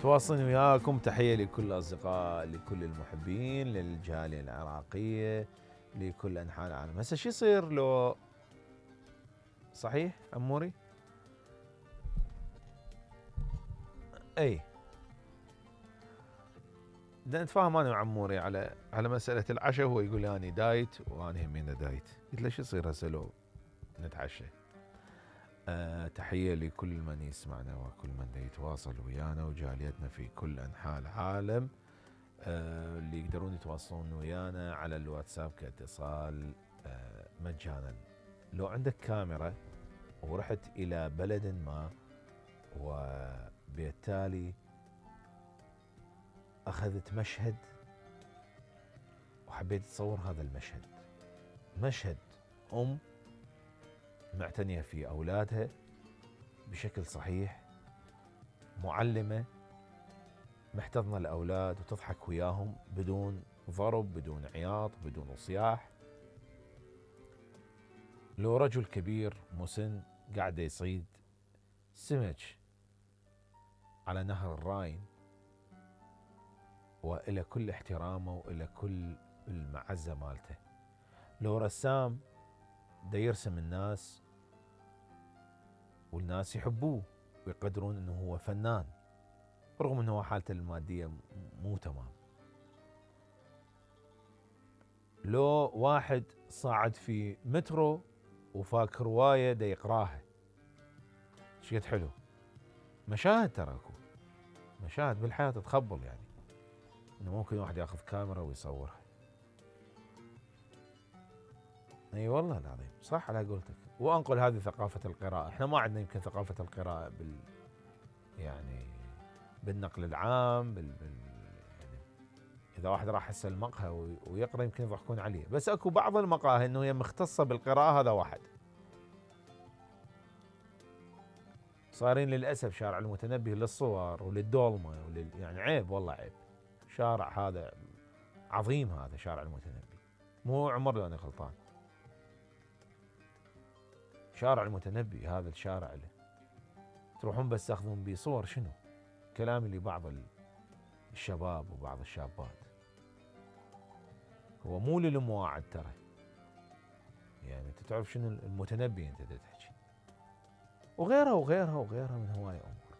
تواصلين وياكم. تحية لكل الأصدقاء، لكل المحبين، للجالية العراقية، لكل أنحاء العالم. هسه شو يصير لو صحيح عموري؟ اي بدنا نتفاهم انا وعموري على مسألة العشاء، وهو يقول لي اني دايت وانا همينه دايت. قلت له شو يصير هسه لو نتعشى؟ تحية لكل من يسمعنا وكل من يتواصل ويانا وجاليتنا في كل أنحاء العالم. اللي يقدرون يتواصلون ويانا على الواتساب كاتصال مجانا. لو عندك كاميرا ورحت إلى بلد ما وبالتالي أخذت مشهد وحبيت تصور هذا المشهد، مشهد أم معتنية في أولادها بشكل صحيح، معلمة محتضنة الأولاد وتضحك وياهم بدون ضرب، بدون عياط، بدون صياح. لو رجل كبير مسن قاعد يصيد سمك على نهر الراين وإلى كل احترامه وإلى كل المعزة مالته. لو رسام دا يرسم الناس والناس يحبوه ويقدرون انه هو فنان رغم انه حالته المادية مو تمام. لو واحد صاعد في مترو وفاك رواية دا يقراها، شقد حلو. مشاهد ترى اكو مشاهد بالحياة تتخبل، يعني انه ممكن واحد ياخذ كاميرا ويصورها. اي والله العظيم صح على قولتك. وانقل هذه ثقافة القراءة. احنا ما عندنا يمكن ثقافة القراءة يعني بالنقل العام يعني اذا واحد راح هسه المقهى ويقرا يمكن يضحكون عليه، بس اكو بعض المقاهي انه هي مختصة بالقراءة. هذا واحد صارين للاسف شارع المتنبي للصور وللدولمة يعني عيب والله عيب. شارع هذا عظيم، هذا شارع المتنبي، مو عمر لو انا غلطان. شارع المتنبي هذا الشارع اللي تروحون بس تاخذون بيه صور. شنو كلامي لبعض الشباب وبعض الشابات، هو مو للمواعد ترى. يعني انت تعرف شنو المتنبي انت تحكي، وغيرها وغيرها وغيرها من هواية امور.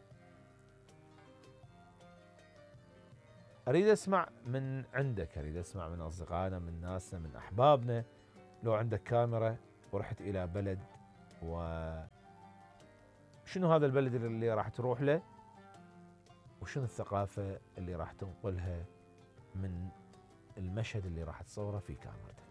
اريد اسمع من عندك، اريد اسمع من اصدقائنا، من ناسنا، من احبابنا. لو عندك كاميرا ورحت الى بلد، وشنو هذا البلد اللي راح تروح له، وشنو الثقافة اللي راح تنقلها من المشهد اللي راح تصوره في كاميرتك.